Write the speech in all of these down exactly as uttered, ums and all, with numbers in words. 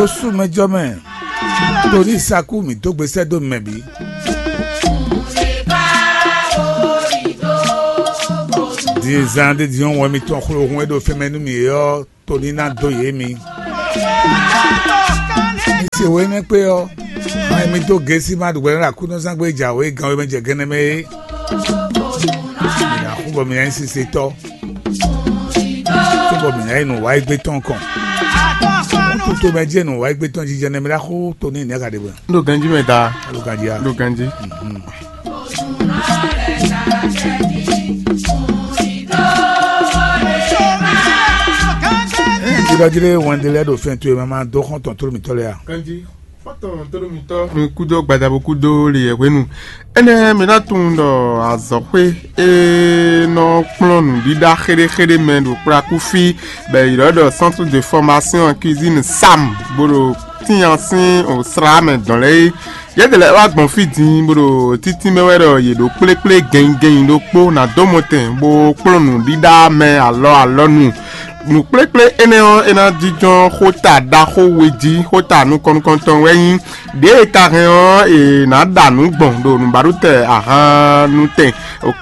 Ó sú mɛ jɔ mɛ, torí sakú mǐ dó gbe sɛ́ dó mɛ bǐ. Din e zan ɖé din ɔ́, wɛn mitɔn xló hun e ɖo fɛn mɛ nú mǐ é ɔ́, to ní ná dó yě mi. Mi se wěnɛ́ kpé ɔ́, ma mi dó gěsí ma ɖu hwɛ ná ɖo Aklúnɔzán gbé jǎwe gan e mɛ jɛ gɛnɛ mɛ é. Mi ná xú bɔ mi ná nyí sisetɔ́, cóbɔ mǐ ná yi nǔ wa égbé tɔn kɔn. Kútu mɛ jɛ nǔ wa égbé tɔn jijɛ nɛmɛ ɖaxó to ní nɛ̌ ka ɖe bɔ? Ɖo ganjí mɛ da. Ɖo ganjí a? Ɖo ganjí. Jidɔjilé wɛnde lɛ́ɛ ɖo fɛn towe mɛ ma dó xɔ́n tɔn tló mǐtɔn lɛ́ɛ a? Ganjí. Fɔtɔn tóɖómitɔ mi kúdó gbadabo kúdó le yɛ hwenu. Énɛ́ mi ná tunwun ɖɔ azɔ̌xwé e nɔ kplɔ́n nǔɖiɖa xéɖéxéɖé mɛ ɖo kplakúfí bɔ è ylɔ́ ɖɔ centre de formation cuisine sam bó ɖo tínya sín slá mɛ dɔn lɛ́ɛ é. Yɛ́dɛlɛ wá gbɔn fí din bó ɖo títí mɛ wɛ ɖɔ yě ɖo kplékplé gɛnnyigɛnnyi ɖokpó ná dó mɔtɛn bó kplɔ́n nǔɖiɖa mɛ alɔ alɔnu. Nǔkplékplé énɛ́ ɔ́, é ná jínjɔ́n xóta ɖaxó we jí. Xóta nukɔn nukɔntɔn wɛ nyí ɖěe ka hɛn ɔ́, è nǎ ɖa nǔ gbɔn ɖo nǔbaɖutɛn ahannutɛn,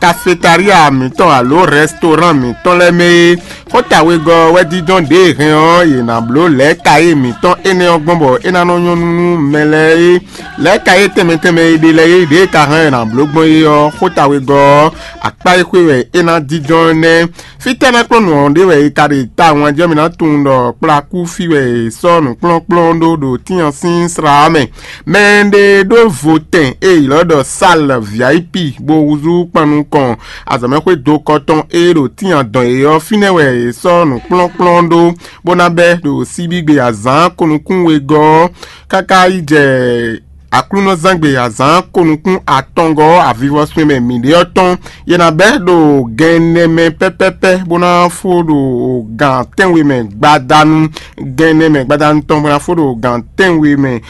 cafétaria mǐtɔn alo rɛstorán mǐtɔn lɛ́ɛ mɛ é. Xóta wegɔ́ ɔ́ wɛ jínjɔ́n ɖěe hɛn ɔ́, è nǎ bló lɛ̌kayé mǐtɔn énɛ́ ɔ́ gbɔn bɔ é ná nɔ nyɔ́ nú mɛ lɛ́ɛ é. Lɛ̌kayé tɛnmɛ tɛnmɛ e ɖe lɛ́ɛ é, ɖěe ka hɛn è nǎ bló gbɔn é ɔ́, xóta wegɔ́ ɔ́, akpá e xwé wɛ é ná jínjɔ́n nɛ́. Fítɛ́ ná kplɔ́n nǔ ɔ́ ɖe wɛ è ka ɖe tawun jí ɔ́, mi ná tunwun ɖɔ kplakú fí wɛ è sɔ́ nǔkplɔ́nkplɔ́n ɖó ɖo Tíyan sín slá ɔ́ mɛ. Mɛ ɖé ɖó votɛn e è ylɔ́ ɖɔ Sal V I P bó húzú kpan nukɔn azɔ̌mɛxwé dokɔ tɔn e ɖo Tíyan dɔn é ɔ́, fínɛ́ wɛ è sɔ́ nǔkplɔ́nkplɔ́n ɖó, bó ná bɛ́ ɖo síbígbe azǎn kɔnukún wegɔ́ ɔ́ káká yi jɛ Aklúnɔzángbe azǎn kɔnukún atɔngɔ́ ɔ́ avivɔswin mɛ mǐɖée ɔ́ tɔn. Yě ná bɛ́ ɖo gɛn ɛnɛ mɛ pɛ́pɛ́pɛ́ bó ná fó ɖo gǎn tɛ́nwe mɛ gbadanu, gɛn ɛnɛ mɛ gbadanu tɔn bó ná fó ɖo gǎn tɛ́nwe mɛ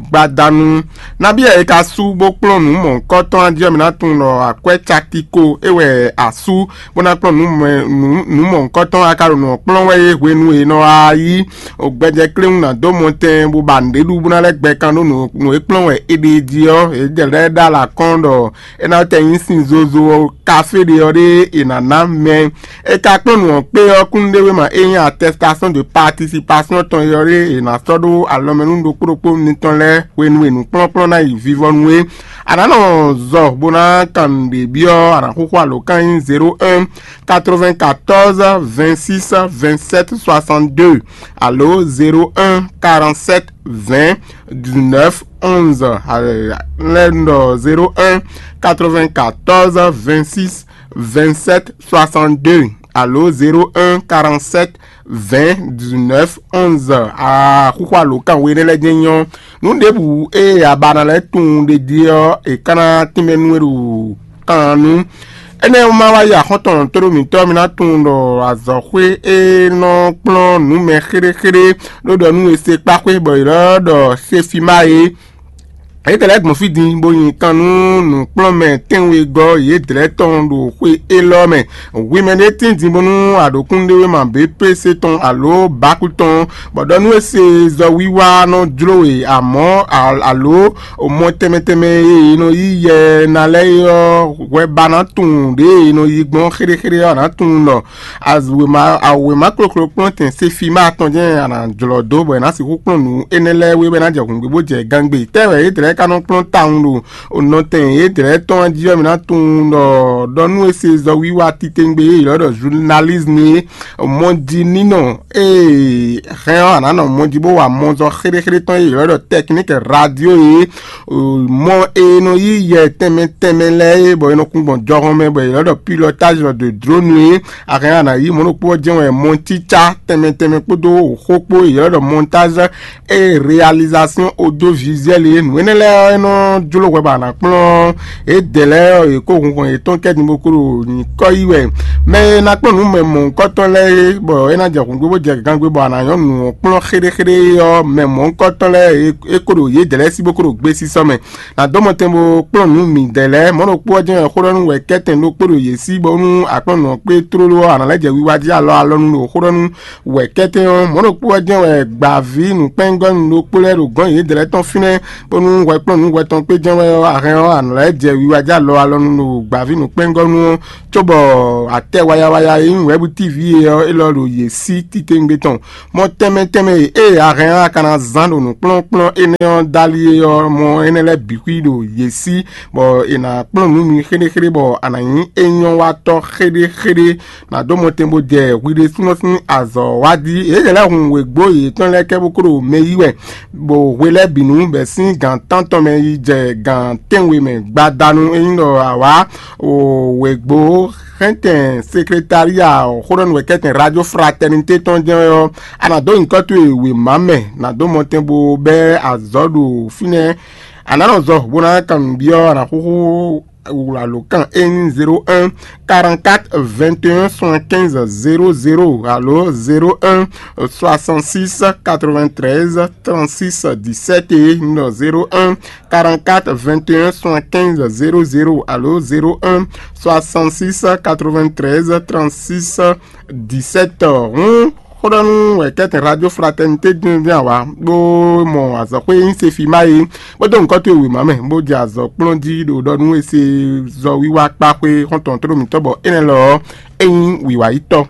gbadanu. Nabí wɛ è ka sú bó kplɔ́n nǔ mɔ̌hunkɔtɔn jí ɔ́, mi ná tunwun ɖɔ akwɛ́ caki ko é wɛ a sú bó ná kplɔ́n nǔ mɛ- nǔ- nǔ mɔ̌hunkɔtɔn a ka ɖo nǔ ɔ́ kplɔ́n wɛ é hwenu e è nɔ wá yí gbɛjɛ kléwún ná dó mɔtɛn bó ba nǔɖé ɖu bó ná lɛ́ gbɛ kan ɖó nǔ nǔ e kplɔ́n wɛ é ɖe jí ɔ́, é jɛ lɛ́ ɖó alɔ akɔ́n ɖɔ é ná tɛ nyí sin zozo ɔ́, kafé ɖe ɔ́ ɖé è nǎ ná mɛ. É ka kplɔ́n nǔ ɔ́ kpé ɔ́, kúnnuɖéwéma e nyí attestation de participation tɔn é ɔ́ ɖé è nǎ sɔ́ ɖó alɔmɛnú ɖokpó ɖokpó mitɔn lɛ́ɛ hwenu e nǔkplɔ́nkplɔ́n ná yi vivɔnu é. A nǎ nɔ zɔ bó ná kan nǔɖé byɔ́, a nǎ xúxú alǒkan nyí zéro un quatre-vingt-quatorze vingt-six vingt-sept soixante-deux alo zéro un quarante-sept vingt dix-neuf onze. Lɛ́ ɖɔ zéro un quatre-vingt-quatorze vingt-six vingt-sept soixante-deux alo zéro un quarante-sept vingt dix-neuf onze. Axúxú alǒkan we énɛ́ lɛ́ɛ jɛ́n nyɔ́. Nǔ ɖěbǔ e a ba ná lɛ́ tunwun ɖe jí ɔ́, è ka ná tínmɛ nú we ɖo kan nu. Énɛ́ ɔ́ ma wá yi axɔ́ntɔn tóɖó mǐtɔn, mi ná tunwun ɖɔ azɔ̌xwé e nɔ kplɔ́n nǔ mɛ xéɖéxéɖé ɖó ɖɔ nú we se kpáxwé bɔ è lɔ́ ɖɔ Sefima é. Yědɛɛ lɛ́ɛ gbɔn fí din bó nyi kan nú nǔkplɔ́nmɛ tɛ́nwegɔ́ yědɛɛ tɔn ɖo xwé élɔ́ mɛ. Hwi mɛ ɖé tín din bónú a ɖǒ kúnnuɖéwéma bě plése tɔn alo bákú tɔn, bɔ ɖɔ nú é se zɔ wiwa nɔ jló we, amɔ̌ alo mɔ tɛnmɛ tɛnmɛ e è nɔ yí yɛ ná lɛ́ɛ é ɔ́, hwɛ ba ná tunwun ɖěe è nɔ yí gbɔn xéɖéxéɖé ɔ́, a nǎ tunwun ɖɔ Azwěma awěma kloklo kplɔ́n tɛn Sefima tɔn jɛ́n a nǎ jlɔ́ dó bɔ è nǎ sixú kplɔ́n nǔ énɛ́ lɛ́ɛ wé bɔ é ná jɛ hǔngbí bó jɛ gangbé. Tɛ́ wɛ yědɛɛ ka nɔ kplɔ́n tawun ɖo nɔ tɛn yědɛɛ tɔn jí ɔ́, mi ná tunwun ɖɔ ɖɔ nú é se zɔ wiwa titewungbe e è ylɔ́ ɖɔ journalisme é, mɔjininɔ e hɛn ɔ́, a nǎ nɔ mɔji bó wa mɔzɔn xéɖéxéɖé tɔn e è ylɔ́ ɖɔ technique radio é, mɔ e nɔ yí yɛ tɛnmɛ tɛnmɛ lɛ́ɛ é, bɔ è nɔ kún gbɔn jɔhɔn mɛ bɔ è ylɔ́ ɖɔ pilotage de drone é. A hɛn a nǎ yí mɔ̌ ɖokpó ɔ́ jɛ́n wɛ mɔtícá tɛnmɛ tɛnmɛ kpódó xó kpó e è ylɔ́ ɖɔ montage et réalisation audiovisuelle é. Nǔ énɛ́ lɛ́ɛ ɔ́, é nɔ jló hwɛ bɔ a nǎ kplɔ́n yědɛɛ lɛ́ɛ ɔ́, yě kó hunhɔn yětɔn kɛ din bó kó ɖo nyǐkɔ yí wɛ. Mɛ e ná kplɔ́n nǔ mɛ mɔ̌hunkɔtɔn lɛ́ɛ é, bɔ é ná jɛ hǔngbé bó jɛ gangbe bɔ a nǎ nyɔ́ nǔ ɔ́ kplɔ́n xéɖéxéɖé ɔ́, mɛ mɔ̌hunkɔtɔn lɛ́ɛ é kó ɖo yědɛɛ lɛ́ɛ sí bó kó ɖo gbé sísɔ́ mɛ. Nǎ dó mɔ tɛn bó kplɔ́n nǔ mǐdɛɛ lɛ́ɛ. Mɔ̌ ɖokpó ɔ́ jɛ́n wɛ xó ɖɔ nú wɛ̌kɛ́tɛn ɖokpó ɖo yě sí bónú a kplɔ́n nǔ ɔ́ kpé tlóló ɔ́, a nǎ lɛ́ jɛ wiwa jí alɔ alɔnu ɖo xó ɖɔ nú wɛ̌kɛ́tɛn ɔ́. Mɔ̌ ɖokpó ɔ́ jɛ́n wɛ gbǎví nǔkpɛ́ngɔ́nú ɖokpó lɛ́ɛ ɖo gɔ̌n yědɛɛ lɛ́ɛ tɔn fínɛ́, bónú hwɛ kplɔ́n nǔ hwɛ tɔn kpé jɛ́n wɛ ɔ́, a hɛn ɔ́, a nǎ lɛ́ jɛ wiwa jí alɔ alɔnu ɖo gbǎví nǔkpɛ́ngɔ́nú ɔ́, cóbɔ atɛ waya waya e nyí wɛ̌bú tívi é ɔ́, élɔ́ ɖo yě sí titewungbe tɔn. Mɔ tɛnmɛ tɛnmɛ e ée a hɛn ɔ́, a ka ná zán ɖo nǔkplɔ́nkplɔ́n énɛ́ ɔ́ dali é ɔ́, mɔ énɛ́ lɛ́ɛ bǐ xwí ɖo yě sí, bɔ è nǎ kplɔ́n nǔ mi xéɖéxéɖé bɔ a nǎ nyí é nyɔ́ wa tɔ́ xéɖéxéɖé. Nǎ dó mɔtɛn bó jɛ hwi ɖésúnɔ sín azɔ̌ wa jí. Yě lɛ́ hun wěgbó yětɔn lɛ́ɛ kɛ bó kó ɖo mɛ yí wɛ, bɔ hwe lɛ́ɛ bǐ nu bɛ̌ sín gǎn tántɔn mɛ yi jɛ gǎn tɛ́nwe mɛ gbadanu. É nyí ɖɔ awǎ wěgbó xɛntɛn sekretária xóɖɔ́núwɛkɛ́tɛn Radio Fraternité tɔn jɛ́n wɛ ɔ́, a nǎ dó nyǐkɔ towe wěma mɛ, nǎ dó mɔtɛn bó bɛ́ azɔ̌ ɖo fínɛ́. A nǎ nɔ zɔ bó ná kan nǔ byɔ́, a nǎ xúxú wlǎlǒkan é nyí zéro un quarante-quatre vingt et un soixante-quinze zéro zéro alo zéro un soixante-six quatre-vingt-treize trente-six dix-sept é nɔ zéro un quarante-quatre vingt et un soixante-quinze zéro zéro alo zéro un soixante-six quatre-vingt-treize trente-six dix-sept. Hǔn xóɖɔ́nú wɛ kɛ́tɛn Radio Fraternité díndín awa bó mɔ azɔ̌xwé nyí Sefima é, bó dó nǔkɔ towe wěma mɛ, bó jɛ azɔ̌ kplɔ́n jí ɖo ɖɔ nú e se zɔ wiwa kpa xwé xɔ́ntɔn tlóló mǐtɔn bɔ énɛ́ lɔ ɔ́, é nyí wǐwayítɔ́.